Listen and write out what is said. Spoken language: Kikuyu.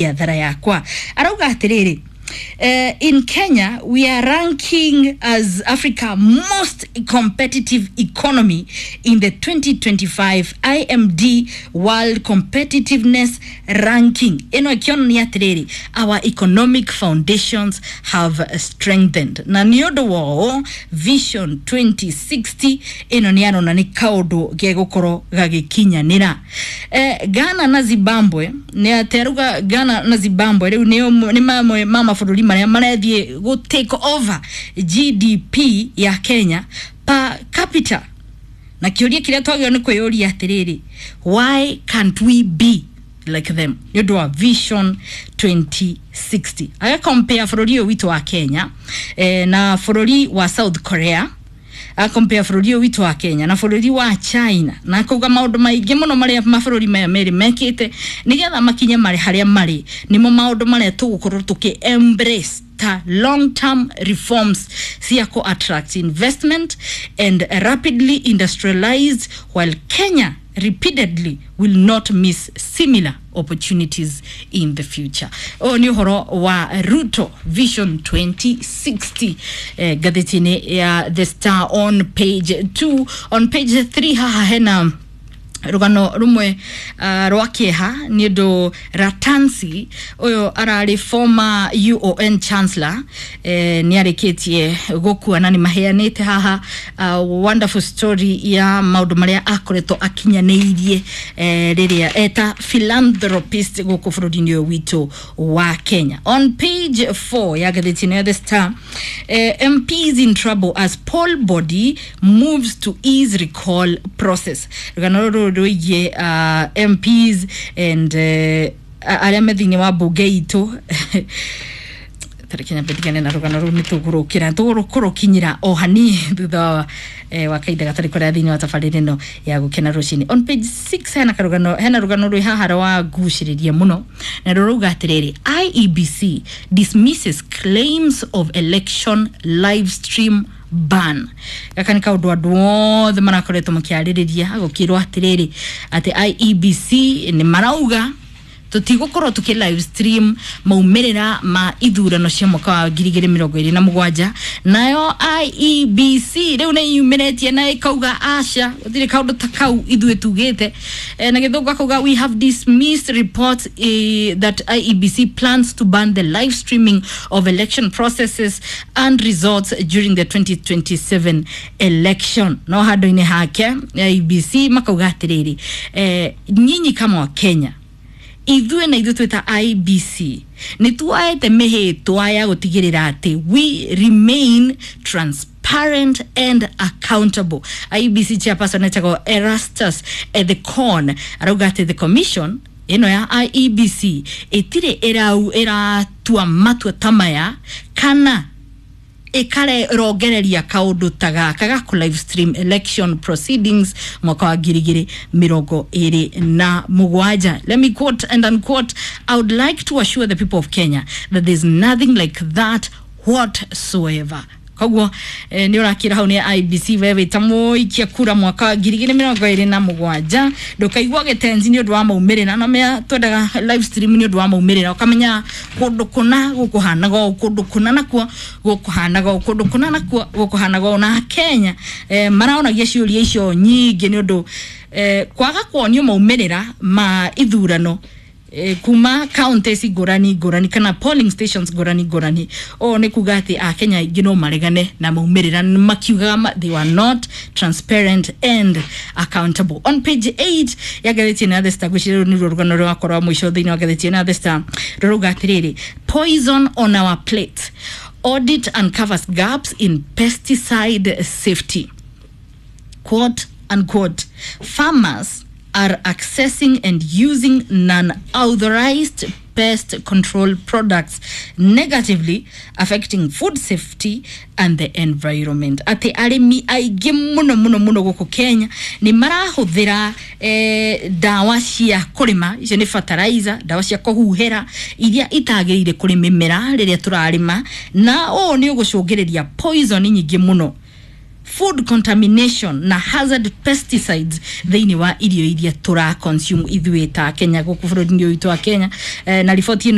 Biathara yakwa arauga atiriri, in Kenya, we are ranking as Africa most competitive economy in the 2025 IMD World Competitiveness Ranking. Ĩno ĩkĩonania atĩrĩrĩ, our economic foundations have strengthened. Na nĩ ũndũ wa ũũ, Vision 2060 ĩno nĩ arona nĩ kaũndũ gegũkorwo gagĩkinyanĩra. Ghana na Zimbabwe nĩ atĩ arauga Ghana na Zimbabwe rĩu nĩ mamwe ma mabũrũri marĩa marethiĩ gũ take over GDP ya Kenya per capita, na kĩũria kĩrĩa twagĩrĩirwo nĩ kwĩyũria atĩrĩrĩ, why can't we be like them? Nĩ ũndũ wa Vision 2060 agakompea bũrũri ũyũ witũ wa Kenya na bũrũri wa South Korea, akompea bũrũri ũyũ witũ wa Kenya na bũrũri wa China, na akauga maũndũ maingĩ mũno marĩa mabũrũri maya merĩ mekĩte nĩgetha makinye marĩ harĩa marĩ nĩmo maũndũ marĩa tũgũkorwo tũkĩ embrace ta long term reforms cia ku attract investment and rapidly industrialized, while Kenya repeatedly will not miss similar opportunities in the future. Ũyũ nĩ ũhoro wa Ruto Vision 2060, ngathĩti-inĩ ya The Star on page 2. On page 3 haha hena rũgano rũmwe rwa kĩeha nĩ ũndũ Ratansi ũyũ ararĩ former UON chancellor, nĩ arĩkĩtie gũkua, na nĩ maheanĩte haha wonderful story ya maũndũ marĩa akoretwo akinyanĩirie rĩrĩa eta philanthropist gũkũ bũrũri-inĩ ũyũ witũ wa Kenya. On page 4 ya ngathĩti ĩno ya The Star, MPs in trouble as poll body moves to ease recall process. Rũgano rũrũ rwĩgiĩ MPs and arĩa me thĩinĩ wa mbunge itũ. Tareke nyambe ndigane na rũgano rũu, nĩ tũgũrũkĩra tũgũrũkinyĩra o hani thutha wa kahinda gatarĩ kũraya thĩinĩ wa tabarĩra ĩno ya Gũkena Rũcinĩ. On page 6 hena karũgano, hena rũgano rwĩ haha rwa ngucĩrĩria mũno, na rũrauga atĩrĩrĩ, IEBC dismisses claims of election live stream ban. Gaka nĩ kaũndũ andũ othe marakoretwo makĩarĩrĩria, gũkĩrwo atĩrĩrĩ atĩ IEBC nĩ marauga tũtigũkorwo tũkĩ live stream maumĩrĩra ma ithurano cia mwaka wa 2027. Nayo IEBC rĩu nĩ yumĩrĩtie na ĩkauga aca, gũtirĩ kaũndũ ta kau ithuĩ tugĩte. Na gĩthũngũ akauga, "We have dismissed reports that IEBC plans to ban the live streaming of election processes and results during the 2027 election." No handũ-inĩ hake IEBC makauga atĩrĩrĩ, nyinyi kama wa Kenya, ithuĩ na ithuĩ twĩta IEBC nĩ tuoete mĩhĩtwa ya gũtigĩrĩra atĩ we remain transparent and accountable. IEBC chairperson etagwo Erastus Ethekon arauga atĩ the commission ĩno ya IEBC ĩtirĩ ĩratua matua ta maya kana ĩkarongereria kaũndũ ta gaka ga kũ live stream election proceedings mwaka wa 2027. Let me quote and unquote, "I would like to assure the people of Kenya that there's nothing like that whatsoever." Koguo nä å rakä ra hau nä IEBC, we wä ta må ikia kura mwaka wa 2027, ndå gä tenzi nä å ndå wa maumä rä ra na mea twendaga live stream nä å ndå wa maumä rä ra, ũkamenya kũndũ kũna gũkũhanaga ũũ, kũndũ kũna nakuo gũkũhanaga ũũ, kũndũ kũna nakuo gũkũhanaga ũũ. Na Kenya maraonagia ciũria icio nyingĩ nĩ ũndũ kwaga kuonio maumĩrĩra ma ithurano kuma counties ngũrani ngũrani kana polling stations ngũrani ngũrani. Ũũ nĩ kuga atĩ akenya aingĩ no maregane na maumĩrĩra makiugaga they were not transparent and accountable. On page 8 ya ngathĩti ĩno ya The Star, gwĩciria rũu nĩruo rũgano rwakwa rwa mũico thĩinĩ wa ngathĩti ĩno ya The Star, rũrauga atĩrĩrĩ, poison on our plate, audit uncovers gaps in pesticide safety. Quote unquote, "Farmers are accessing and using non-authorized pest control products, negatively affecting food safety and the environment." Atĩ arĩmi aingĩ mũno mũno mũno gũkũ Kenya nĩ marahũthĩra ndawa cia kũrĩma, icio nĩ fertilizer, ndawa cia kũhuhĩra iria itagĩrĩire kũrĩ mĩmera rĩrĩa tũrarĩma, na ũũ nĩ ũgũcũngĩrĩria poison nyingĩ mũno. food contamination na hazard pesticides thĩinĩ wa irio iria tũra consume ithuĩ ta Kenya gũkũ bũrũri-inĩ ũyũ witũ wa Kenya. Na riboti ĩno.